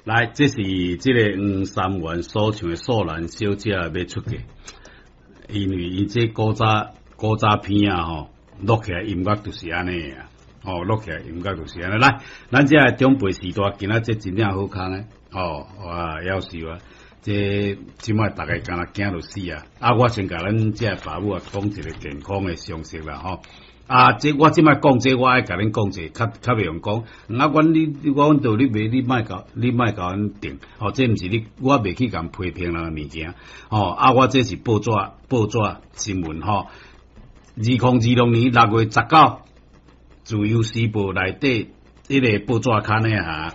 來，這是這个黃三元所唱的素蘭小姐欲出嫁，因為伊這古早片啊吼，錄起來音樂就是按呢啊，吼，錄起來音樂就是按呢。來，咱這个長輩時代，今仔這真正好康呢，哦，哇，夭壽啊！這這擺逐家敢若驚著死啊！啊，我先共咱這个爸母啊講一个健康的常識啦，吼。啊，這我這擺講這，我愛共恁講一下，較較袂用講。啊，阮你我阮道你袂，你莫共阮定。吼，這毋是你，我袂去共批評人的物件。吼，啊，我這是報紙新聞吼。2026年6月19，自由時報內底彼個報紙刊的哈。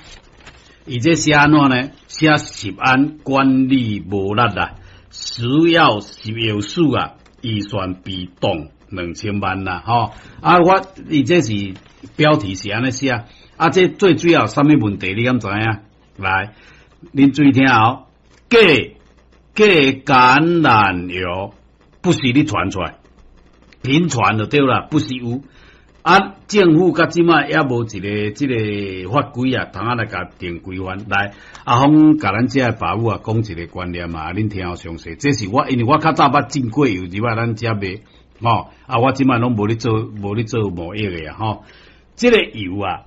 伊這寫按怎呢？寫食安管理無力啦，食藥食藥署啊，預算被凍2000萬啦，吼！啊，我伊這是標題是按呢寫，啊，這最主要啥物問題？你敢知影？來，恁注意聽哦，假假橄欖油不是咧傳出來，頻傳就對啦，不是有。啊，政府到這擺猶無一个這个法規啊，通仔來共定規範。來，阿峰共咱遮的爸母啊講一个觀念啊，恁聽好詳細。這是我因為我較早捌進過油入來咱遮賣，吼啊，我這擺攏無咧做，無咧做貿易的啊，吼。這个油啊，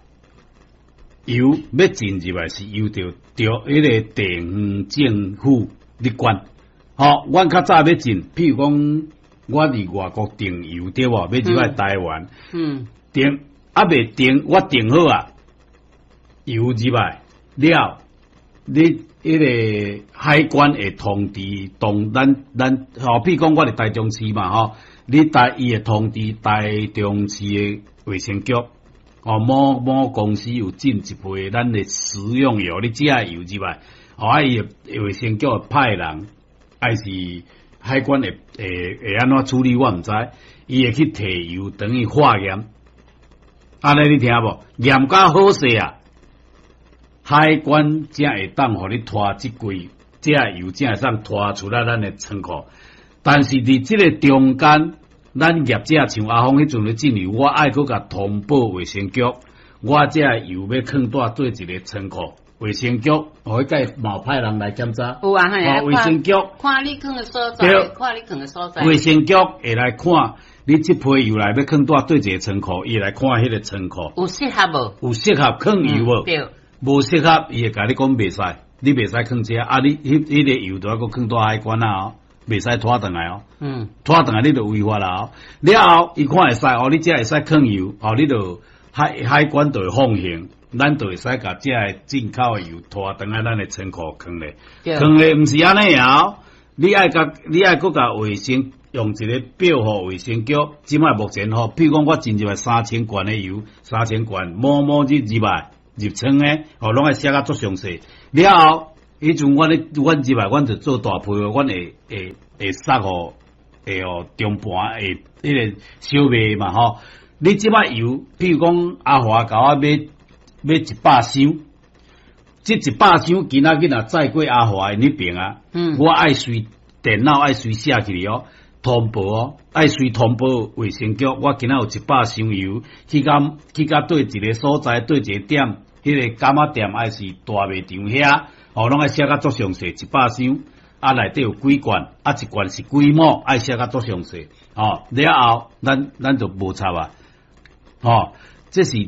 油欲進入來是由著著彼个地方政府咧管。吼，阮較早欲進，譬如講，我佇外國訂油對無？欲入來台灣，訂猶未訂，我訂好啊，油入來了，你彼个海關會通知當咱咱，吼，譬如講我佇台中市嘛，吼，你台伊會通知台中市的衛生局，哦，某某公司有進一批咱的食用油，你這油入來，哦，啊，伊會衛生局會派人，還是海關會會會按怎處理，我毋知，伊會去提油轉去化驗，按呢你聽無？驗甲好勢啊，海關才會當予你拖這櫃，這油才會當拖出來咱的倉庫。但是佇這个中間，咱業者像阿峰彼陣咧進油，我愛閣共通報衛生局，我這油欲囥佇佗一个倉庫，衛生局，哦，彼屆嘛有派人來檢查。有啊，嘿，哦，衛生局看你囥的所在，看你囥的所在。衛生局會來看你這批油來欲囥佇佗一个倉庫，伊會來看彼个倉庫有適合無？有適合囥油無？對。無適合，伊會共你講袂使，你袂使囥遮，啊，你彼彼个油著愛閣囥佇海關啊，哦，袂使拖轉來哦。拖轉來你就違法啦哦。了後，伊看會使哦，你遮會使囥油，哦，你就海關就會放行。咱就會使共這个進口的油拖轉來咱的倉庫囥咧，囥咧毋是按呢哦，你愛共你愛閣共衛生用一个表予衛生局，這擺目前吼，譬如講我進入來3000罐的油，三千罐某某日入來入倉的，哦，攏愛寫甲足詳細。了後，彼陣阮咧，阮入來，阮就做大批，阮會會會送予會予中盤會彼个小賣嘛吼。你這擺油，譬如講阿華共我買買100箱，這100箱今仔日若載過阿華的彼爿啊，我愛隨電腦愛隨寫起來哦，通報哦，愛隨通報衛生局，我今仔有一百箱油，去到佗一个所在，佗一个點，彼个柑仔店還是大賣場遐，哦，攏愛寫甲足詳細，一百箱，啊，內底有幾罐，啊，一罐是幾畝，愛寫甲足詳細，哦，了後，咱就無插啊，哦，這是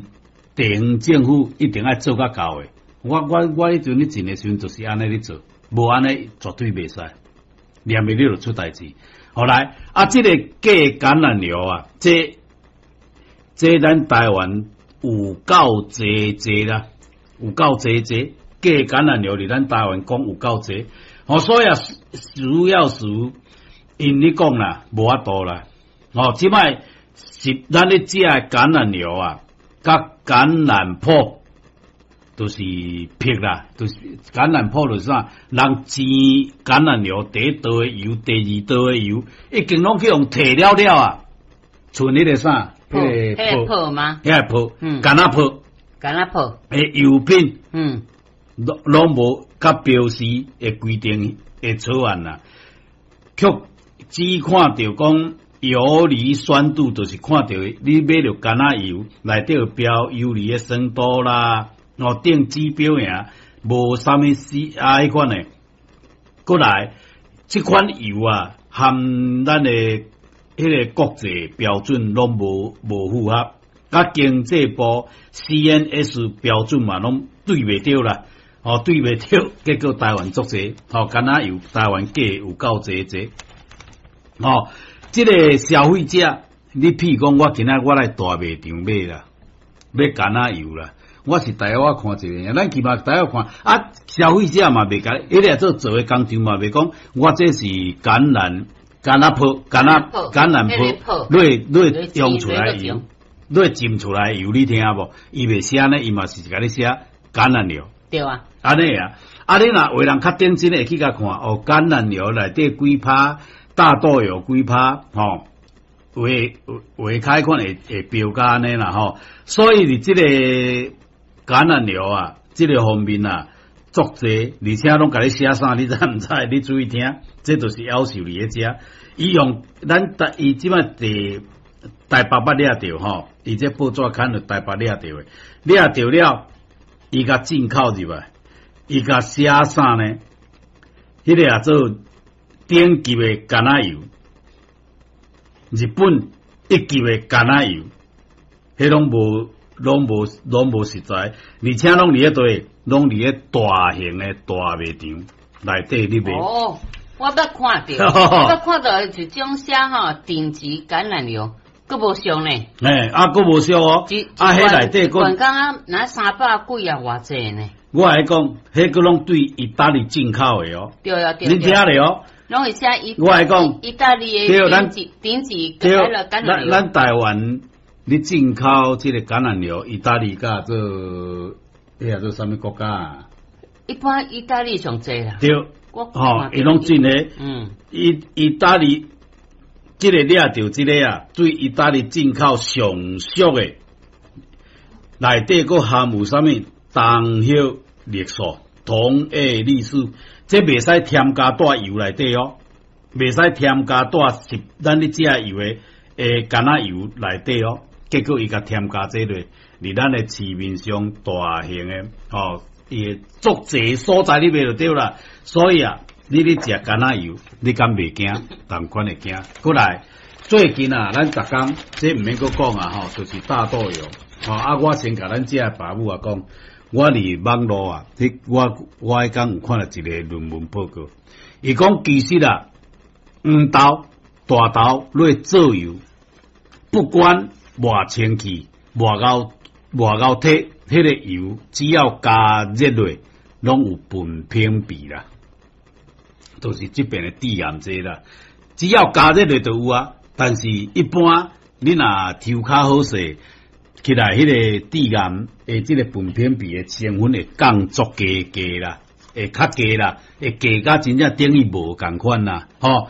地方政府一定愛做甲到的。我彼陣咧進的時陣就是按呢咧做，無按呢絕對袂使，連袂你就出代誌。後來啊，這个假橄欖油啊，這咱台灣有夠濟濟啦，有夠濟濟假橄欖油佇咱台灣講有夠濟。哦，所以啊，主要是𪜶咧講啦，無法度啦。哦，這擺是咱咧食的橄欖油啊，佮橄欖粕，就是粕啦，就是橄欖粕就是啥？人煎橄欖油第一道的油，第二道的油，已經攏去予提了了啊！剩彼个啥？彼个粕粕嗎？彼个粕，橄欖粕，橄欖粕，的油品，攏攏無佮標示的規定的草案啦，卻只看著講游離酸度，就是看著你買著橄欖油內底有標游離的酸度啦。哦，定指標爾，無啥物 C 啊，彼款的。閣來，這款油啊，含咱的彼个國際標準攏無符合，佮經濟部 CNS 標準嘛，攏對袂著啦。哦，對袂著，結果台灣足濟，吼，橄欖油台灣假有夠濟濟。吼，這个消費者，你譬如講，我今仔我來大賣場買啦，買橄欖油啦。我是台灣看一个，咱起碼台灣看啊，消費者嘛袂共，彼个做的工廠嘛袂講，我這是橄欖橄欖泡橄欖橄欖泡，你用出來油，你浸出來油，你聽無？伊袂寫呢，伊嘛是共你寫橄欖油。對啊。按呢啊，啊你若有人較認真會去共看哦，橄欖油內底幾趴，大豆油幾趴，吼，畫畫開款會標價按呢啦吼，所以佇這个橄欖油啊，這个方面啊，足濟，而且攏共你寫啥，你知毋知？你注意聽，這就是夭壽佇咧遮。伊用咱台，伊這擺佇台北捌掠著吼，伊這報紙刊佇台北掠著的，掠著了，伊共進口入來，伊共寫啥呢？彼个也做頂級的橄欖油，日本一級的橄欖油，彼攏無。攏無攏無實在，而且攏佇咧佗，攏佇咧大型的大賣場內底咧賣。哦，我捌看著，我捌看著一種寫吼頂級橄欖油，閣無俗呢。嘿，啊，閣無俗哦。啊，彼內底閣。一罐敢若三百幾啊，偌濟呢？我來講，彼個攏對意大利進口的哦。對啊，對。你聽咧哦。攏會寫意。我來講，意大利的頂級頂級橄欖油。咱台灣。你進口這個橄欖油，意大利佮做，彼個做啥物國家啊？一般意大利上濟啦。對，吼，伊攏進的。意大利這個掠著這个啊，對意大利進口上俗的，內底閣含有啥物桐葉綠素、銅葉綠素，這袂使添加佇油內底哦，袂使添加佇是咱咧食油的橄欖油內底哦。結果伊共添加這個，佇咱的市面上大型的，吼，伊的足濟所在你買就對啦。所以啊，你咧食橄欖油，你敢袂驚？仝款會驚。閣來，最近啊，咱逐工這毋免閣講啊，吼，就是大豆油。吼啊，我先共咱遮的爸母啊講，我佇網路啊，彼我彼工有看著一个論文報告，伊講其實啊，黃豆、大豆落做油，不管偌清氣、偌𠢕偌𠢕體，彼个油只要加熱落，攏有苯丙酯啦，就是這邊的致癌劑啦。只要加熱落就有啊，但是一般你若抽較好勢，起來彼个致癌的這个苯丙酯的成分會降足低低啦，會較低啦，會低甲真正等於無仝款啦，吼。